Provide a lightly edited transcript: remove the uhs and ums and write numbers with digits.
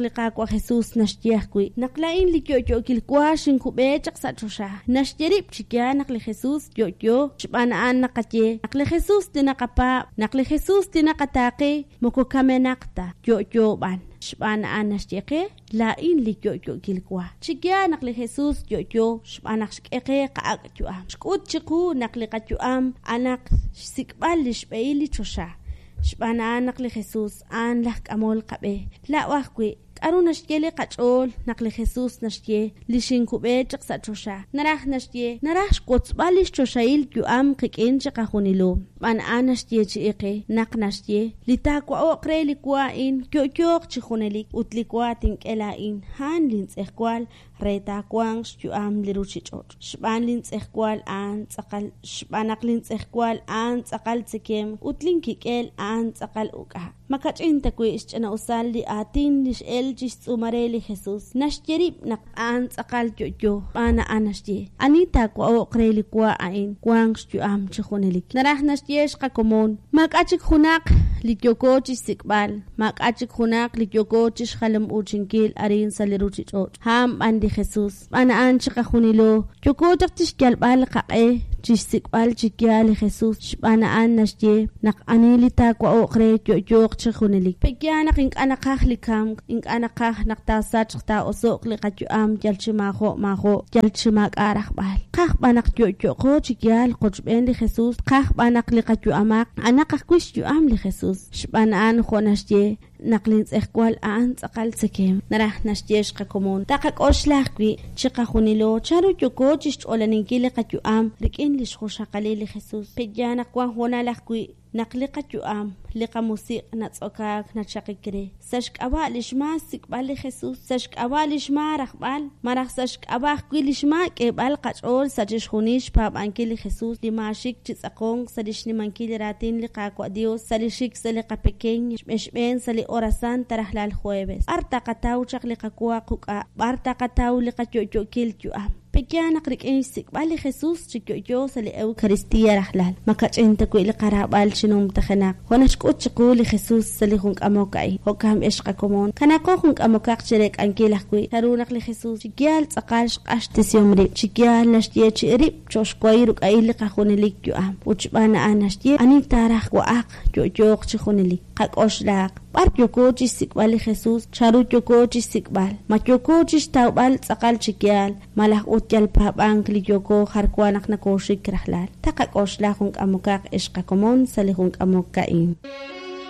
naq li Qaawa' Jesus naxye ajwi', naq laa'in li yo'yookil wa xinkub'e chaq sa' choxa. Naxye rib' chi yaal naq li Jesus yo'yo, xb'aan a'an naqaye naq li Jesus li naqapaab', naq li Jesus li naqataaqe moko kamenaq ta, yo'yo b'an. Xb'aan a'an naxye qe, Laa'in li yo'yookil wa. Chi yaal naq li Jesus yo'yo xb'aan naq xk'e qe qa'ak' yu'am. Xk'ut chiqu naq li qayu'am a'anaq xsik'b'al lix b'ehil li choxa. Xb'aan a'an naq li Jesus a'an laj k'amol qab'e. Laa'o ajwi', k'a'ru naxye li qach'ool naq li Jesus naxye li xinkub'e chaq sa' choxa? Naraj naxye, naraj xwotzb'al lix choxahil yu'am qik'in chiqajunilo. Xb'aan a'an naxyeechi'i qe naq naxye, Li taawa'o'q re li wa a'in yo'yooq chi junelik, ut li wa tink'e laa'in, a'an lin tz'ejwal re taawanq xyu'am li ruchich'och'. Xb'aan lin tz'ejwal a'an tz'aqal xb'aan naq lin tz'ejwal a'an tz'aqal tzekemq ut lin kik'el a'an tz'aqal uk'a'. Ma kach'in ta wi' xch'ina'usal li aatin li x'el chi xtz'uumal re li Jesus? Naxye rib' naq a'an tz'aqal yo'yo, xb'aan a'an naxye, Ani taawa'o'q re li wa a'in, wanq xyu'am chi junelik. Naraj naxye xqakomon, maak'a' chik junaq li yooko chixsik'b'al, maak'a' chik junaq li yooko chixjalam-uuchinkil arin sa' li ruchich'och', a'an b'an li Jesus. Xb'aan a'an chiqajunilo yooko chaq chixyalb'al qaq'e chixsik'b'al chi yaal li Jesus, xb'aan a'an naxye naq ani li taawa'o'q re yo'yooq chi junelik. Pe'yaal naq ink'a' naqaj li kamk, ink'a' naqaj naq taasachq taa'oso'q li qayu'am yal chi maajo' maajo', yal chi maak'a' rajb'al. Tqaj b'an naq yo'yo'qo chi yaal qochb'een li Jesus, tqaj b'an naq li qayu'amaq a'anaq ajwi' xyu'am li Jesus. Xb'aan a'an jo' naxye, Naq lintz'ejwal a'an tz'aqal tzekemq, naraj naxye xqakomon. Taqak'oxla ajwi', chiqajunilo, chanru yooko chixch'olaninkil li qayu'am rik'in lix junxaqalil li Jesus. Pe'yaal naq wan hoonal ajwi' naq li qayu'am, li qamusiq' natz'okaak nachaqik re, sa' xk'ab'a' lix maa xsik'b'al li Jesus, sa' xk'ab'a' lix maa rajb'al, malaj sa' xk'ab'a' ajwi' lix maa k'eeb'al qach'ool sa' chixjunil xpaab'ankil li Jesus, li maaxik chi tz'aqonk sa' li xnimankil li raatin li Qaawa' Dios, sa' li xik sa' li qapekeñ xb'een sa' li hora santa rajlal jueves. B'ar taqataw chaq li qawa quk'a'? B'ar taqataw li qayo'yo'kil yu'am? Pe'yaal naq rik'in xsik'b'al li Jesus chi yo'yo sa' li Eucaristia rajlal, ma kach'in ta wi' li qaraab'al chi numtajenaq, jo' naxk'ut chiqu li Jesus sa' li jun k'amok a'in? Jo'kan b'ex qakomon, kanaaqo jun k'amokaq chireek'ankil ajwi' chanru naq li Jesus chi yaal tz'aqal xq'axtesihom rib', chi yaal naxyeechi'i rib' cho'q xwahil ruk'a'il li qajunelik yu'am, ut xb'aan a'an naxye, Ani taaraj wa'aq, yo'yooq chi junelik. Qak'oxlaaq, b'ar yooko chi xsik'b'al li Jesus? Chanru yooko chi xsik'b'al? Ma yooko chi xtawb'al tz'aqal chi yaal, malaj ut yal paab'ank li yooko jar wa naq nokooxik rajlal? Taqak'oxla jun k'amokaq ex qakomon sa' li jun k'amok a'in.